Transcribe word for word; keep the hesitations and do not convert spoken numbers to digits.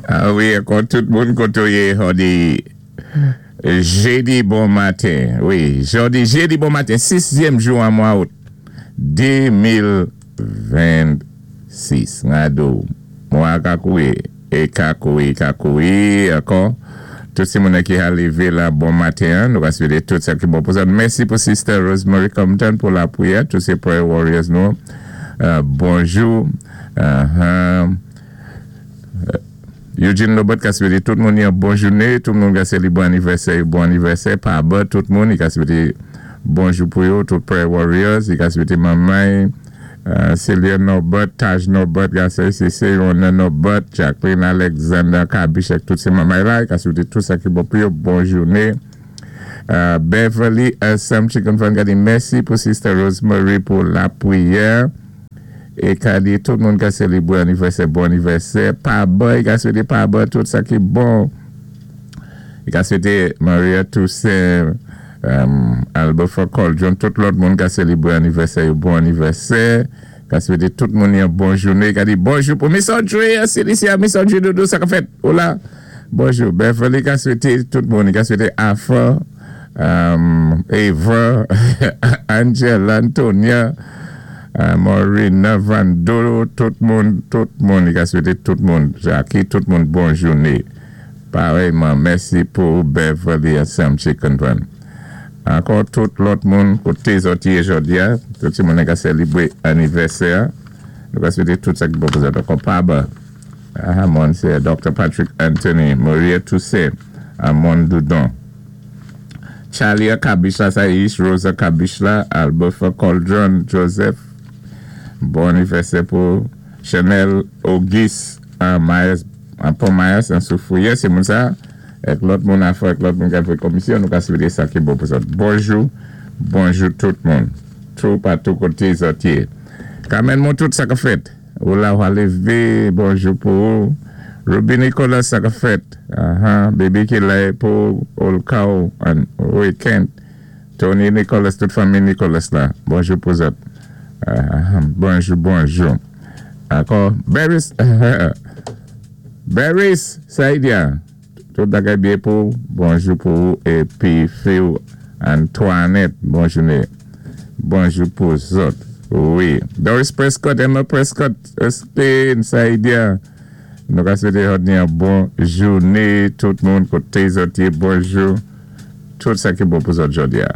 Ah wi, ankò tout moun kotoyé jòdi jédi bon maten. Wi, jòdi jédi bon maten, sizyèm jou an mwa out de mil vennsis. Ngado, mwa ka kouwé, é ka kouwé, ka kouwé, ankò. Tout si moun ki a lévé la bon maten, nou ka swété tout sa ki bon pou sa. Mèsi pou Sister Rosemary Compton pou lapriyè, tout sé prayer warriors nou. Euh, bonjou. Uh-huh. Eugene Lobot ka swété tout moun yon bon jouné, tout moun ka sélibré anivèsè, bon anivèsè, pa ba tout moun, i ka swété bonjou pou yo, tout prayer warriors, i ka swété manmay, euh, Celia Norbert, Taj Norbert, ka swété Seyona Norbert, Jacqueline Alexander, Kabishek, tout sé manmay la, i ka swété tout sa ki bon pou yo, bon jouné. Euh, Beverly Sam Chicken Fan ka di mèsi pou Sister Rosemary pou lapriyè. É ka di tout moun ka sélibré anivèsè, bon anivèsè. Pa ba, i ka swété pa ba tout sa ki bon. I ka swété Maria Toussaint, um, Albert Coldron, tout lòt moun ka sélibré anivèsè, bon anivèsè. Ka swété tout moun yon bon jouné. Ka di bonjou pou Miss Audrey, Celicia, Miss Audrey Doudou, sa ka fèt. Hola. Bonjou. Beverly ka swété tout moun. I ka swété Afa, um, Eva, Angela, Antonia, Uh, Maureen, Vandolo, tout moun, tout moun, i ka swété tout moun, Jackie, tout moun bon jouné. Parèyman, mèsi pou Beverly et Sam Chicken Van. Ankò tout lòt moun, koté zòt yé jòdi a, tout si moun ka sélibré anivèsè, nou ka swété tout sa ki bon pou zòt. Ankò pa ba, ah, moun sé Doctor Patrick Anthony, Maria Toussaint, Amon Doudon. Charlie Kabishla, Saish, Rosa Kabishla, Albert Coldron, Joseph, bon anivèsè pou Chanel Auguste an Myers, an Pont Myers, an Soufouye, sé moun sa, èk lòt moun a fè, èk lòt moun ka fè komisyon, nou ka swété sa ki bon pou zòt. Bonjou, bonjou tout moun. Tout patou koté zòt yé. Kamen moun tout sa ka fèt. Ou la ou lévé, bonjou pou ou. Ruby Nicolas sa ka fèt. Aha, baby ki la pou Olkao an weekend. Tony Nicolas, tout fanmi Nicolas la. Bonjou pou zòt. Uh, bonjou, bonjou. Ankò, Beris, Beris, Saidia. Tout bagay byen pou, bonjou pou ou, épi Phil Antoinette, bon jouné. Bonjou pou zòt. Wi. Doris Prescott, Emma Prescott, Spain, Saidia. Nou ka swété yon bon jouné, tout moun koté zòt yé, bonjou. Tout sa ki bon pou zòt jòdi a.